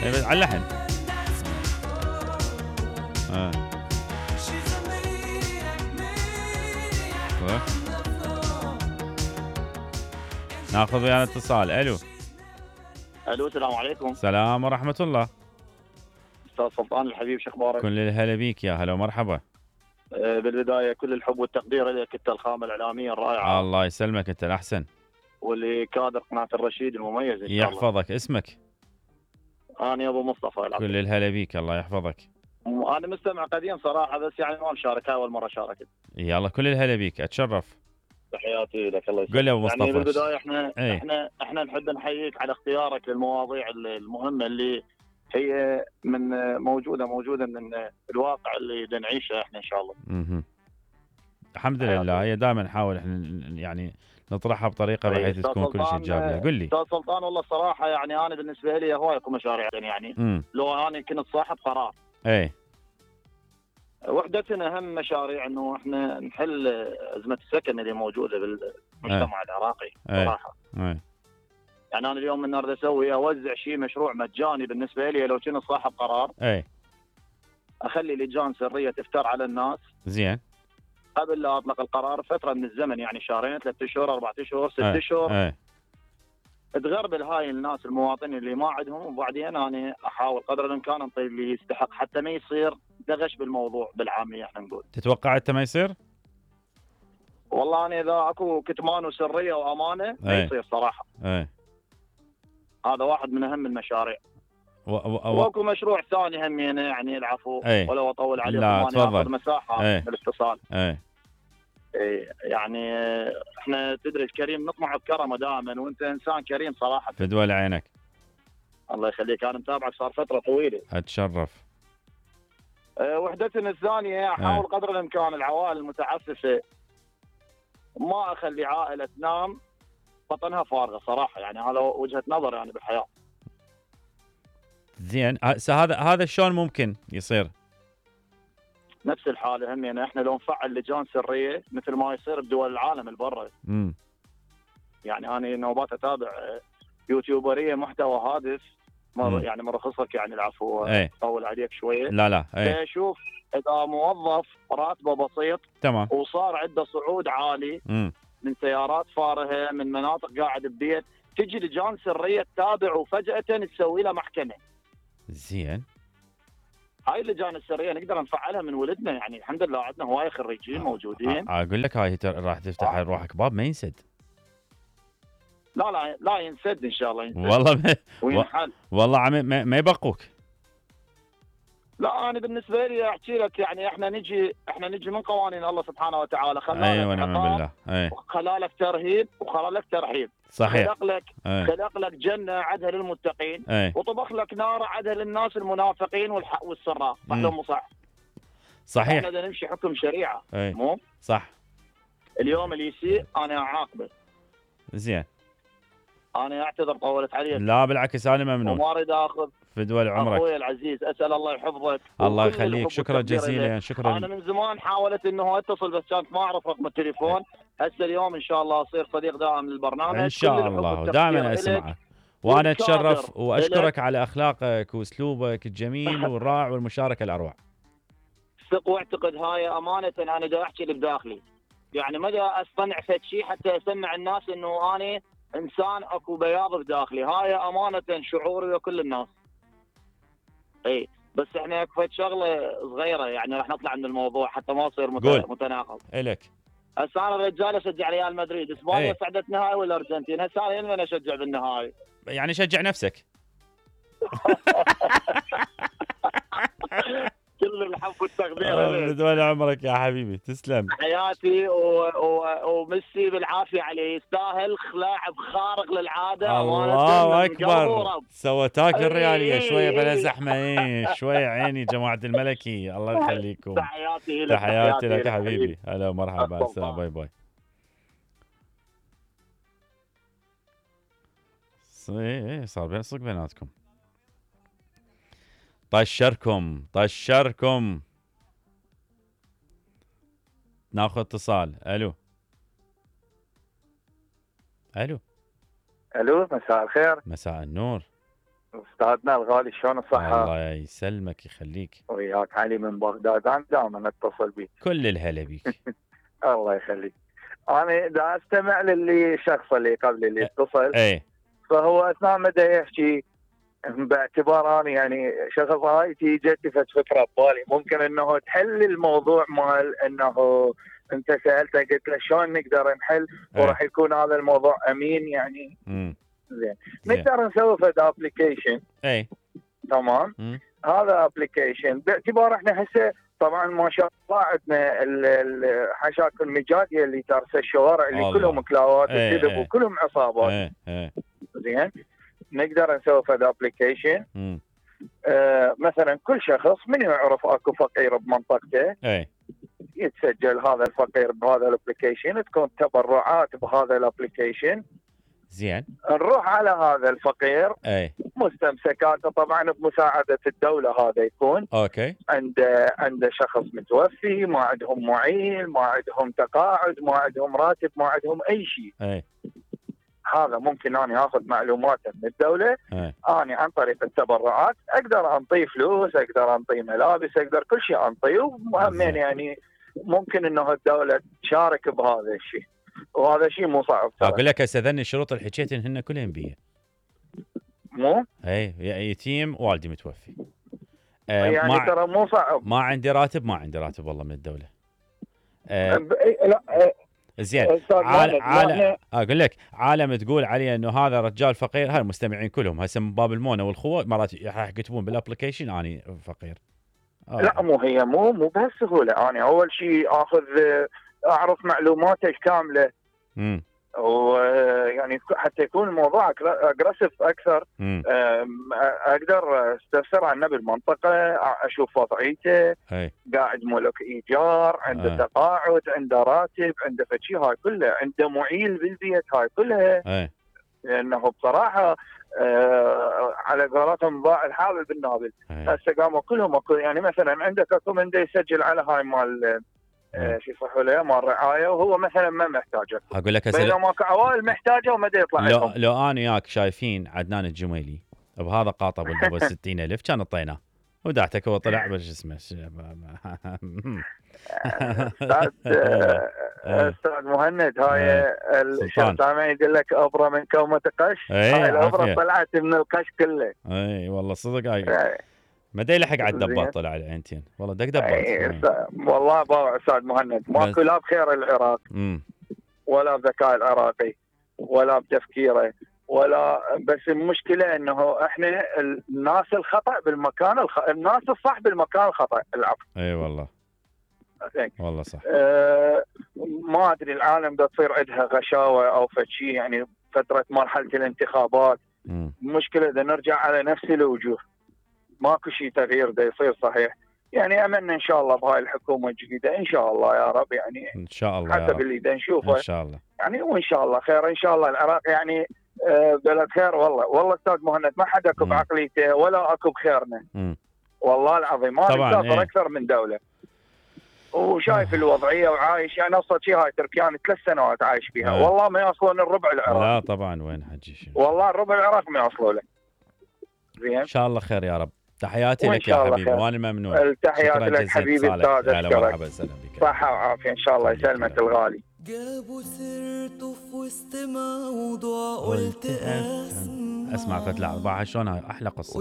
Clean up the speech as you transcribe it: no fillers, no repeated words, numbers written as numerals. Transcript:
بس على اللحن. ناخذ ويانا اتصال. الو السلام عليكم. السلام ورحمة الله. استاذ سلطان الحبيب، شو اخبارك؟ كل الهلا بيك، يا هلا ومرحبا. بالبدايه كل الحب والتقدير لك، انت الخامه الاعلاميه الرائعه. الله يسلمك، انت الاحسن. ولكادر قناه الرشيد المميز ان شاء الله. يحفظك. اسمك؟ انا ابو مصطفى. كل الهلا بيك، الله يحفظك. انا مستمع قديم صراحه، بس يعني ما مشارك، اول مره شاركت. يلا كل الهلا بيك، اتشرف. تحياتي لك، الله يسلمك. قل يا ابو مصطفى. يعني بالبدايه ايه؟ احنا نحب نحييك على اختيارك للمواضيع المهمه اللي هي من موجوده من الواقع اللي نعيشه احنا ان شاء الله. الحمد لله. هي دائما نحاول احنا يعني نطرحها بطريقه بحيث تكون كل شيء ايجابيه. قل لي استاذ سلطان، والله الصراحه يعني انا بالنسبه لي هواي اكو مشاريع يعني لو انا كنت صاحب قرار. ايه. وحدتنا اهم مشاريع انه احنا نحل ازمه السكن اللي موجوده بالمجتمع العراقي صراحه. يعني انا اليوم من اريد اوزع شيء مشروع مجاني بالنسبه لي لو كنت صاحب قرار. اخلي لجان سريه تفتر على الناس. زين. قبل لا اطلق القرار فتره من الزمن، يعني شهرين 3 اشهر 4 اشهر 6 اشهر. تغربل هاي الناس المواطنين اللي ما عندهم، وبعدين انا احاول قدر الامكان انطي اللي يستحق حتى ما يصير دغش بالموضوع بالعاميه احنا نقول. تتوقع انت ما يصير؟ والله انا اذا اكو كتمان وسريه وامانه ما يصير صراحه. هذا واحد من اهم المشاريع. واكو مشروع ثاني همينه، يعني العفو ولو اطول عليكم. لا تفضل. مساحه من الاتصال. يعني احنا تدري الكريم نطمع بكرمه دائما، وانت انسان كريم صراحه. فدوى لعينك. الله يخليك، انا متابعك صار فتره طويله. اتشرف. وحدتنا الثانيه احاول قدر الامكان العوائل المتعففه ما اخلي عائله تنام بطنها فارغه صراحه، يعني هذا وجهه نظر يعني بالحياه. زين. هذا شلون ممكن يصير؟ نفس الحاله هم، يعني احنا لو نفعل لجان سريه مثل ما يصير بدول العالم البرة. يعني انا نوبات اتابع يوتيوبريه محتوى هادف، يعني مرخصك يعني العفو اطول عليك شويه. لا شوف، اذا موظف راتبه بسيط تمام وصار عنده صعود عالي من سيارات فارهه من مناطق قاعد ببيت، تجي لجان سريه تتابع وفجاه تسوي له محكمه. زين. هاي اللجان السريه نقدر نفعلها من ولدنا، يعني الحمد لله عندنا هواي خريجين موجودين. اقول لك هاي راح تفتح روحك باب ما ينسد. لا ينسد ان شاء الله. ينسد والله وينحل. والله ما يبقوك. لا انا بالنسبه لي احكي لك، يعني احنا نجي من قوانين الله سبحانه وتعالى. خلانا ونعم بالله. خلالك ترهيب وخلالك ترحيب. صحيح. خلق لك جنه عدها للمتقين، وطبخ لك نار عدها للناس المنافقين والسراء. صح لو مو صح؟ صحيح. احنا بدنا نمشي حكم شريعه. مو صح. اليوم اللي يسيء انا اعاقبه. زين. انا اعتذر طولت عليك. لا بالعكس، انا ممنون. وما اريد اخذ فدوى عمرك اخوي العزيز، اسال الله يحفظك. الله يخليك، شكرا جزيلا. شكرا. انا من زمان حاولت انه اتصل بس كانت ما اعرف رقم التليفون. هسه اليوم ان شاء الله اصير صديق دائم للبرنامج ان شاء الله، ودائما اسمعه. وانا اتشرف واشكرك على اخلاقك واسلوبك الجميل والرائع والمشاركه الاروع. ثق واعتقد، هاي امانه انا دا احكي اللي بداخلي، يعني ما دا اصطنع فد شيء حتى اسمع الناس انه انا انسان اكو بياض بداخلي. هاي امانه شعوري وكل الناس. بس احنا فد شغله صغيره، يعني راح نطلع من الموضوع حتى ما يصير متناقض. الك هسه انا رجال اشجع ريال مدريد. اسبانيا صعدت نهائي والارجنتين، هسه انا من اشجع بالنهائي؟ يعني شجع نفسك. كل الحب والتقدير. بدون عمرك يا حبيبي، تسلم. حياتي وميسي بالعافيه عليه، يستاهل لاعب خارق للعاده. الله اكبر. سوى تاكل الرياليه شويه بلا زحمه. شويه عيني جماعه الملكي، الله يخليكم. تحياتي لك حبيبي. هلا ومرحبا. السلام. باي باي. صار بين صدق بيناتكم. طشركم. ناخذ اتصال. الو. مساء الخير. مساء النور. استاذنا الغالي شلون الصحة؟ الله يسلمك يخليك. وياك علي من بغداد، انا دائما اتصل بيك. كل الهلا بيك. الله يخليك. انا دا استمع للشخص اللي قبل اللي اتصل. فهو اثناء ما يحكي باعتبار انا يعني شخص هايتي جتني فكره ببالي، ممكن انه تحل الموضوع مال انه انت سالته قلت له شلون نقدر نحل وراح يكون هذا الموضوع امين يعني. زين نقدر نسوي فد ابلكيشن. تمام. هذا ابلكيشن باعتبار احنا هسه طبعا ما شاء الله عندنا الحشاكل المجاديه اللي ترس الشوارع اللي كلهم كلاوات وكذب وكلهم عصابات. زين نقدر نسوي فد ابلكيشن. مثلا كل شخص من يعرف اكو فقير بمنطقته يتسجل هذا الفقير بهذا الابلكيشن، تكون تبرعات بهذا الابلكيشن. زين نروح على هذا الفقير مستمسكاته طبعا بمساعده الدوله، هذا يكون اوكي عنده شخص متوفي، ما عندهم معيل، ما عندهم تقاعد، ما عندهم راتب، ما عندهم اي شيء. هذا ممكن أنا أخذ معلوماته من الدولة. أنا عن طريق التبرعات أقدر أنطي فلوس، أقدر أنطي ملابس، أقدر كل شيء أنطيه. ومهمين يعني ممكن إنه الدولة تشارك بهذا الشيء، وهذا شيء مو صعب. أقول لك هسه ذني الشروط اللي حكيتن هن كلهن بيه. مو؟ يتيم والدي متوفي. يعني ترى مو صعب. ما عندي راتب والله من الدولة. لا زين اقول لك عالم تقول عليه انه هذا رجال فقير، هاي المستمعين كلهم هسه من باب المونه والخوه مرات راح يكتبون بالابلكيشن اني فقير. لا مو هي مو بهالسهوله. انا اول شيء اعرف معلوماته كامله. ويعني حتى يكون الموضوع اجريسيف اكثر. اقدر استفسر عنه بالمنطقه، اشوف وضعيته، قاعد ملك ايجار، عنده تقاعد، عنده راتب، عنده فشي، هاي كلها، عنده معيل بالبيت، هاي كلها. لانه بصراحه على قولتهم ضاع الحابل بالنابل. هسه قاموا كلهم يعني مثلا عندك اكو من يسجل على هاي مال شو يصحوا له مال رعايه، وهو مثلا ما محتاجه. اقول لك بينما ماكو عوائل محتاجه وما يطلع لهم. لو انا وياك شايفين عدنان الجميلي بهذا قاطب ابو 60,000 كان اعطيناه ودعتك هو طلع بش اسمه استاذ مهند. هاي الشرطه يقول لك ابره من كومه قش. هاي الابره طلعت من القش كله. اي والله صدق. هاي ما دا يلحق على الدبات طلع على عينتين والله دق دبات. والله باوع استاذ مهند ماكو لا بخير العراق ولا بذكاء العراقي ولا بتفكيره ولا، بس المشكله انه احنا الناس الخطا بالمكان الناس الصح بالمكان الخطا. العفو. اي والله والله صح. ما ادري العالم دا تصير عندها غشاوه او فشي، يعني فتره مرحله الانتخابات. المشكله اذا نرجع على نفس الوجوه ماكو شيء تغيير دا يصير صحيح. يعني املنا ان شاء الله بهاي الحكومه الجديده ان شاء الله يا رب، يعني ان شاء الله حسب اللي دا نشوفه ان شاء الله يعني، وان شاء الله خير ان شاء الله. العراق يعني بلد خير والله استاذ مهند، ما حدا اكو بعقليته ولا اكو بخيرنا. والله العظيم ما نسافر اكثر من دوله وشايف الوضعيه وعايش. يعني ابسط شيء هاي تركيا 3 سنوات عايش فيها. والله ما يوصلون الربع العراق. لا طبعا وين حجي والله الربع العراق ما يوصلوا له. زين ان شاء الله خير يا رب. تحياتي لك يا حبيبي وانا ممنون. التحيات لك حبيبي استاذ. هلا مرحبا وسهلا بك. صحه وعافيه ان شاء الله يسلمك الغالي. جابوا سيرته في وسط موضوع قلت اسمع فتلة 4 شلون احلى قصه.